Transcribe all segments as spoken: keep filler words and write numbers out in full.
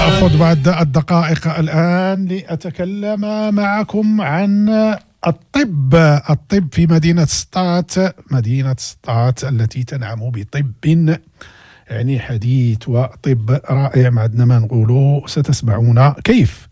سأخذ بعض الدقائق الآن لأتكلم معكم عن الطب الطب في مدينة سطات، مدينة سطات التي تنعم بطب يعني حديث وطب رائع، ما عندنا ما نقولوا، ستسمعون كيف.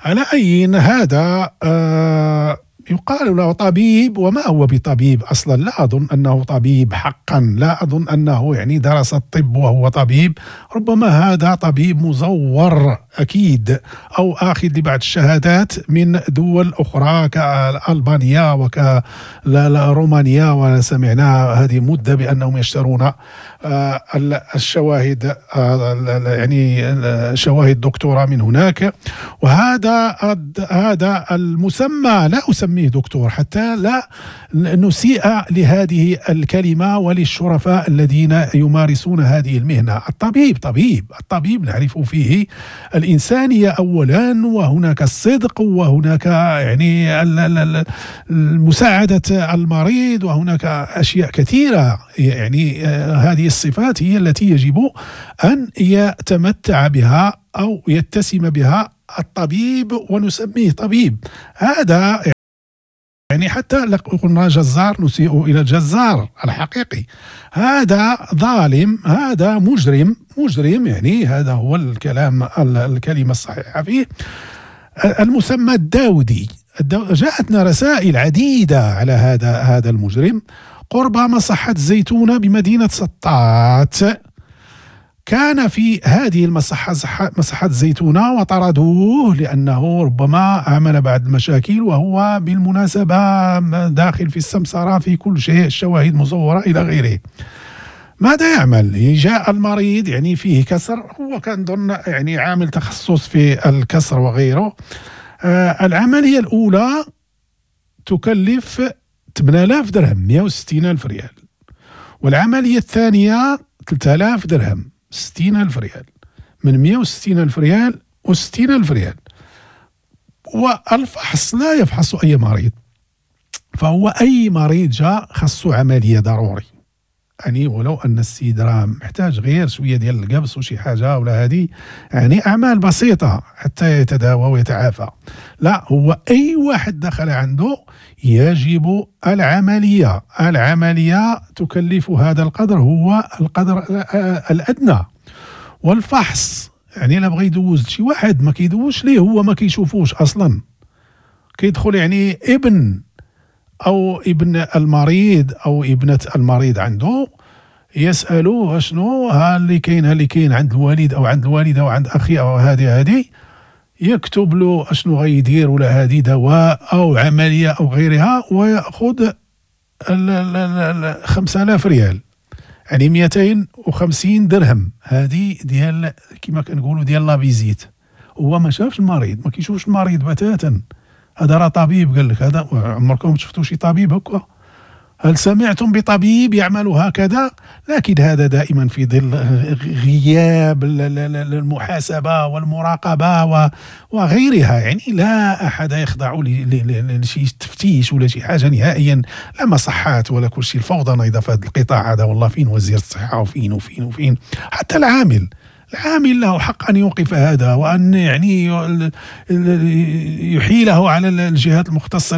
على أي، هذا آه يقال له طبيب، وما هو بطبيب اصلا. لا اظن انه طبيب حقا، لا اظن انه يعني درس الطب وهو طبيب. ربما هذا طبيب مزور اكيد، او اخذ لبعض الشهادات من دول اخرى كالبانيا وكرومانيا، وسمعنا هذه مده بانهم يشترون آه، الشواهد، آه، يعني شواهد دكتوراه من هناك. وهذا هذا المسمى، لا أسميه دكتور حتى لا نسيء لهذه الكلمة وللشرفاء الذين يمارسون هذه المهنة. الطبيب طبيب، الطبيب نعرف فيه الإنسانية أولا، وهناك الصدق، وهناك يعني مساعدة المريض، وهناك أشياء كثيرة. يعني آه، هذه الصفات هي التي يجب أن يتمتع بها أو يتسم بها الطبيب ونسميه طبيب. هذا يعني حتى لو قلنا جزار نسيء إلى الجزار الحقيقي. هذا ظالم، هذا مجرم، مجرم، يعني هذا هو الكلام، الكلمة الصحيحة فيه، المسمى الداودي. جاءتنا رسائل عديدة على هذا هذا المجرم قرب مصحة الزيتونة بمدينة سطات. كان في هذه المصحة، مصحة الزيتونة، وطردوه لأنه ربما عمل بعض المشاكل، وهو بالمناسبة داخل في السمسرة، في كل شيء، الشواهد مزورة إلى غيره. ماذا يعمل؟ جاء المريض يعني فيه كسر، هو كان ظن يعني عامل تخصص في الكسر وغيره. آه العملية الأولى تكلف ثمانية آلاف درهم، مئة وستين ألف ريال، والعملية الثانية ثلاثة آلاف درهم، ستين ألف ريال. من مئة وستين ألف ريال وستين ألف ريال. والفحص، لا يفحص أي مريض، فهو أي مريض جاء خصو عملية ضروري، يعني ولو ان السيد راه محتاج غير شوية ديال القبص وشي حاجة ولا هذه، يعني اعمال بسيطة حتى يتداوى ويتعافى. لا، هو اي واحد دخل عنده يجب العمليه. العملية تكلف هذا القدر، هو القدر الادنى. والفحص، يعني لا بغى يدوز شي واحد ما كيدوزش ليه، هو ما كيشوفوش اصلا. كيدخل يعني ابن او ابن المريض او ابنه المريض عنده، يسالوه شنو ها اللي كاين، ها اللي كاين عند الوالد او عند الوالدة او عند اخي او هذه هذه، يكتب له اشنو غيدير ولا هذه دواء او عملية او غيرها، وياخذ خمسة آلاف ريال، يعني مئتين وخمسين درهم. هذه ديال كما كنقولوا ديال la visite. هو ما شافش المريض، ما كيشوفش المريض بتاتا. هذا راه طبيب قال لك. هذا عمركم شفتوا شي طبيب هكا؟ هل سمعتم بطبيب يعمل هكذا؟ لكن هذا دائما في ظل غياب المحاسبة والمراقبة وغيرها. يعني لا أحد يخضع لشي تفتيش ولا شي حاجة نهائيا، لا مصحات ولا كل شيء. الفوضى نايضة في هذا القطاع هذا والله. فين وزير الصحة وفين وفين وفين؟ حتى العامل، العامل له حق أن يوقف هذا وأن يعني يحيله على الجهات المختصة.